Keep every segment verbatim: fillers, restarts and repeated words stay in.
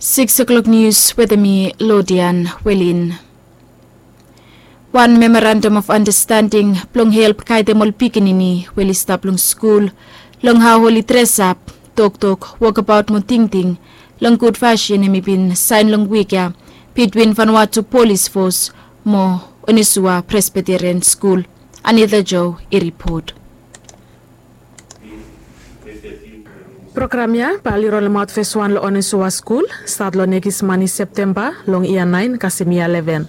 Six o'clock news wetem mi, Lodian Welin. Wan memorandum of understanding blong help gaedem ol pikinini we oli stap long skul long hao oli dresap, toktok, wokabaot mo tingting long gud fasin, hemi bin saen long wik ya bitwin Vanuatu Polis Fos mo Onesua Presbyterian Skul. Anita Joe i ripot. Program ya bae oli rolemaot fes wan long Onesua skul stat long nekis mani Septemba long yia naen kasem yia leven.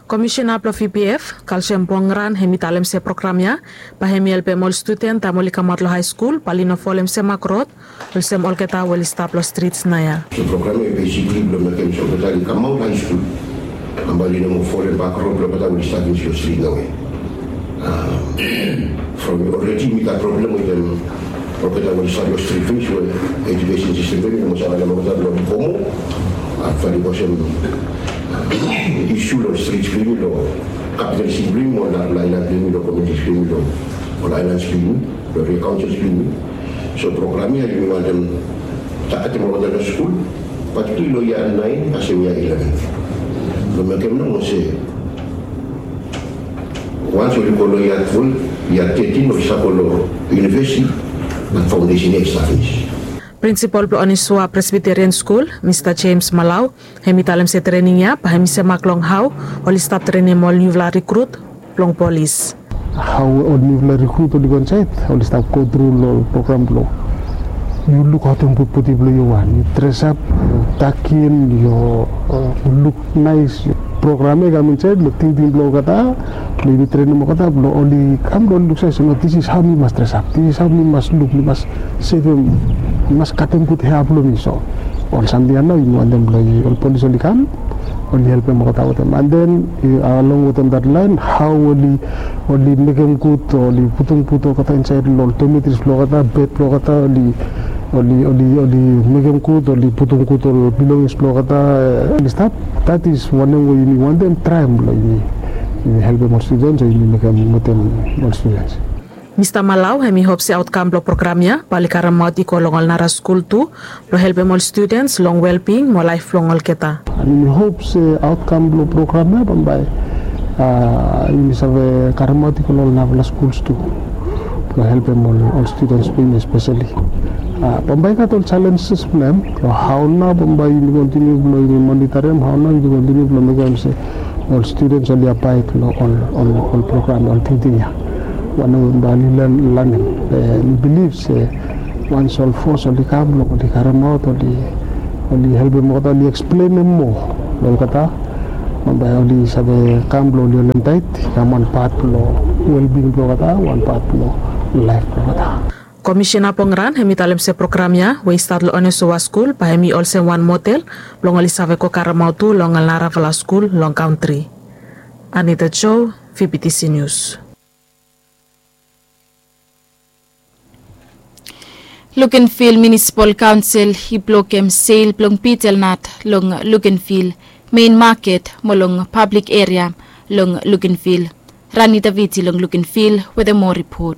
Komisena blong V P F, Kalsiam Pongran, hemi talem se program ya bae hemi helpem ol studen taem oli kamaot long haeskul bae oli no folem semak rod olsem olgeta we oli stap long strits naoia. So program ya basikli blong mekem se olgeta oli kamaot haeskul, bambae oli no moa folem bak rod blong olgeta we oli stap finis long strit naoia. From olredi mi gat problem wetem olgeta we oli stap long strit finis we edukesen sistem blong yumi i no moa save harem olgeta blong oli go moa. Aktuali olsem isu long strit blong yumi long kapital siti blong yumi, ol narafala aelan blong yumi, long komiuniti blong yumi, long ol aelan blong yumi, long area kaonsils blong yumi. So program ya yumi wantem tagetem olgeta long skul, patikulali long yia naen kasem yia ileven, blong mekem nomo se wans oli go long yia twelve, yia thirteen oli save go long univesiti, bat faondesen ya i stap finis. Prinsipol blong Onesua Presbyterian Skul, Mista James Malau, hemi talem se trening ya bae hemi semak long hao oli stap trenem ol niufala rikrut blong polis. Hao ol niufala rikrut oli go insaed, oli stap go tru long ol program blong yu lukaotem gud bodi blong yu, wan yu dresap, yu takin, yu luk naes. Program ya i kam insaed long tingting blong olgeta, blong yumi trenem olgeta blong oli kam blong oli luksave se no, this is hao mi mas dresap, this is hao mi mas luk, mi mas sevem, mi mas katem gud hea blong mi. So ol samting ya nao yumi wantem blong ol polis oli kam, oli helpem olgeta wetem. And then along wetem that line, hao oli, oli mekem gud, oli putum gud olgeta insaed long ol dormitories blong olgeta, bed blong olgeta, oli, oli, oli, oli mekem gud, oli putum gud ol belongings blong olgeta, oli stap. That is wanem we yumi wantem traem blong yumi, yumi helpem ol studens o yumi mekem wetem ol studens. Mista Malau hemi hop se aotkam blong program ya bae oli karemaot i go long ol nara skul tu blong helpem ol studens long welbing mo laef blong olgeta. And yumi hop se aotkam blong program ya bambae yumi save karemaot i go long ol narafala skuls tu blong helpem ol, ol studens blong yumi espeseli. Bambae i gat ol jalenjes blong hem, long hao nao bambae yumi kontiniu blong yumi monitarim, hao nao yumi kontiniu blong mekem se ol studens oli abaed long ol, ol, ol program, ol tingting ya. Wanem we bambae oli lanem. Mi bilif se wans ol fos oli kam blong oli karemaot, oli, oli helpem olgeta, oli eksplenem moa long olgeta, bambae oli save kam blong oli holemtaet, i kam wan pat blong welbing blong olgeta, wan pat blong laef blong olgeta. Komisena Pongran hemi talem se program ya we i stat long Onesua skul bae hemi olsem wan model blong oli save go karemaot tu long ol narafala skul long kantri. Anita Joe, V B T C News. Luganville Municipal Council i blokem sel blong betel nut long Luganville main maket mo long pablik eria long Luganville. Rani Daviti long Luganville wetem moa ripot.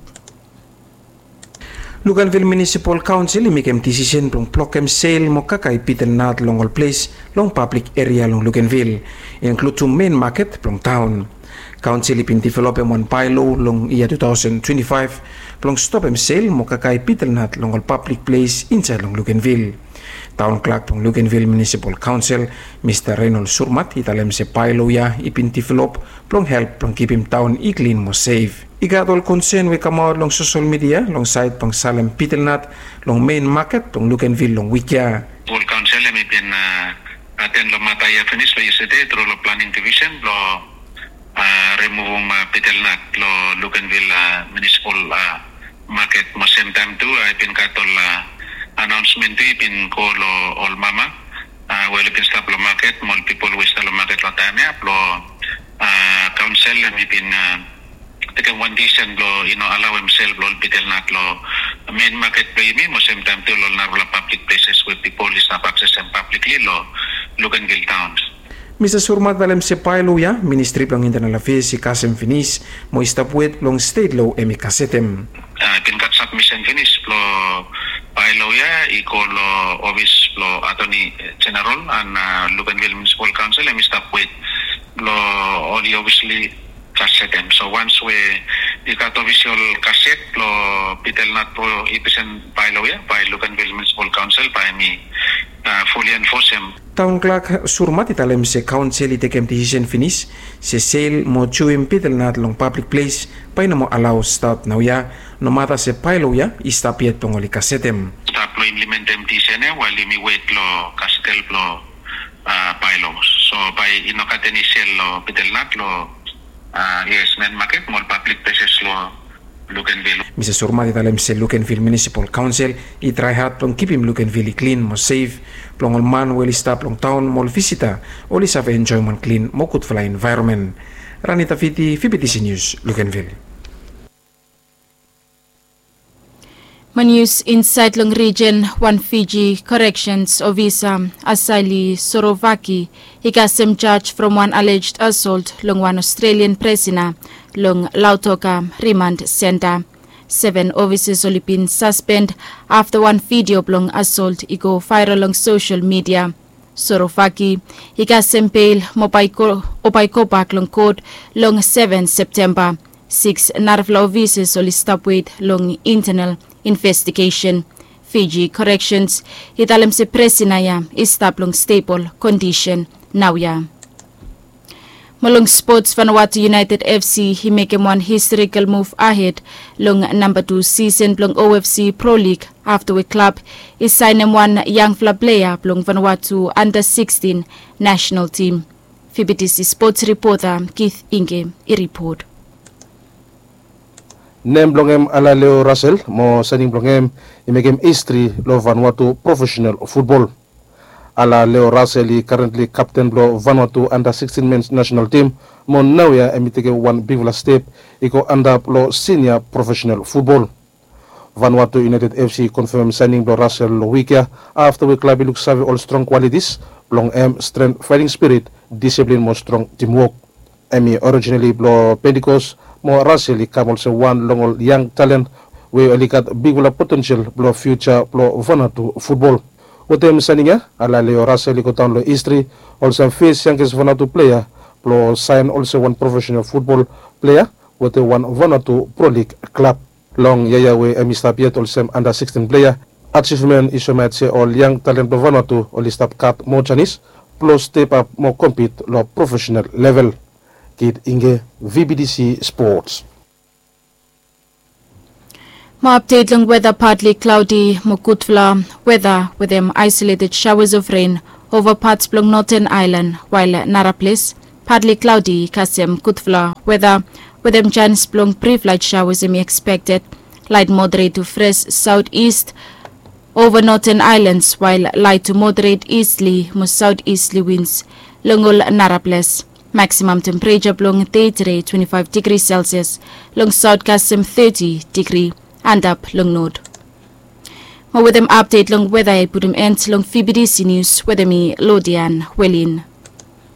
Luganville Municipal Council i mekem disisen blong blokem sel mo kakae betel nut long ol ples long pablik eria long Luganville, inkludim main maket blong taon. Kaonsel i bin developem wan baelo long yia tu taosen twenti faef blong stopem sel mo kakae betel nut long ol pablik ples insaed long Luganville. Taon klak blong Luganville Municipal Council, Mista Reynold Surmat, i talem se baelo ya i bin develop blong help blong kipim taon i klin mo sef. I gat ol konsen we i kamaot long sosel midia long saed blong salem betel nut long main maket blong Luganville long wik ya. Ol kaonsel hemi bin aten long mata ya finis long yestede tru long planing divisen blong rimuvum betel nut long Luganville Municipal Maket, mo semtaem tu i bin gat ol anaonsmen tu i bin go long ol mama we oli bin stap long maket mo ol pipol we i stap long maket long taem ya blong kaonsel hemi bin tekem wan disisen blong i no alaoem sel blong ol betel nut long main maket blong yumi mo semtaem tu long ol narafala pablik pleses we pipol i stap aksesem pablikli long Luganville taon. Mista Surmat i talem se baelo ya Ministri blong Intanel Afeas i kasem finis mo i stap wet blong stet lo hemi gasetem. I bin gat sabmisen finis blong Bylaw ya i go long ofis blong Attorney General and Luganville Municipal Council, hemi stap wet blong oli obviously kasetem. So once we i gat official kaset blong Peter Leonard blong i present bylaw ya, bae Luganville Municipal Council bae hemi fully enforce him. Taon Clerk Surmat i talem se kaonsel i tekem disisen finis se sel mo juem Peter Leonard long pablik ples bae i no moa alao stat naoia, nomata se bylaw ya i stap yet blong oli kasetem. Stap long implementem disisen ya wael yumi wet long kasetel blong bylaw. So bae i no gat eni sel long Peter Leonard long U S main market mo ol pablik pleses long Luganville. Mista Surmat i talem se Luganville Municipal Council i trae had blong kipim Luganville i klin mo sef blong ol man we oli stap long taon mo ol visita oli save enjoem wan klin mo gudfala envaeronmen. Rani Tafiti, V B T C News, Luganville. Mo nius insaed long rijen, wan Fiji koreksions ofisa, Asali Sorovaki, i kasem jaj from wan alleged assault long wan Australian prisona long Lautoka Remand Centre. Seven ofisas oli bin saspend afta wan vidio blong assault i go vaeral long sosel midia. Sorovaki i kasem bel mo bae i go, o bae i gobak long kot long seven Septemba. Siks narafala ofisas oli stap wet long internal investigesen. Fiji Corrections i talem se prisona ya i stap long stebol kondisen naoia. Mo long spots, Vanuatu United F C i mekem wan historikal muv ahed long namba tu sisen blong O F C Pro League afta we klab i saenem wan yangfala plea blong Vanuatu anda sikstin nasenal tim. V B T C spots ripota Keith Inge i ripot. Nem blong hem Alaleo Russell, mo saening blong hem i mekem histri long Vanuatu profesenal futbol. Alaleo Russell i karentli kapten blong Vanuatu anda sikstin men nasenal tim, mo naoia hemi tekem wan bigfala step i go antap long sinia profesenal futbol. Vanuatu United F C i konfem saening blong Russell long wik ya afta we klab i luksave ol strong kwalitis blong hem, stren, faeting spirit, disiplin mo strong timwok. Hemi orijinali blong Pentikos, mo Russell i kam olsem wan long ol yang talen we oli gat bigfala potensel blong fiuja blong Vanuatu futbol. Wetem saening ya, Alaleo Russell i godaon long histri olsem fes yanges Vanuatu plea blong saen olsem wan profesenal futbol plea wetem wan Vanuatu Pro League klab. Long yia ya we hemi stap yet olsem anda sikstin plea, ajivmen i soemaot se ol yang talen blong Vanuatu oli stap gat moa janis blong step ap mo kompit long profesenal level. Keith Inge, V B T C Sports. Mo apdet long weta, partly cloudy mo gudfala weta wetem isolated showers of rain ova pats blong Northern Island, wael nara ples partly cloudy kasem gudfala weta wetem janis blong brief light showers hemi expected. Light moderate to fresh southeast over Northern Islands, wael light to moderate easterly mo southeasterly winds long ol nara ples. Maximum temperature blong dei tede twenty-five degree Celsius, long south kasem thirty degree, antap long north. Mo wetem update long weta i putum end long V B T C News wetem mi, Lodian Welin.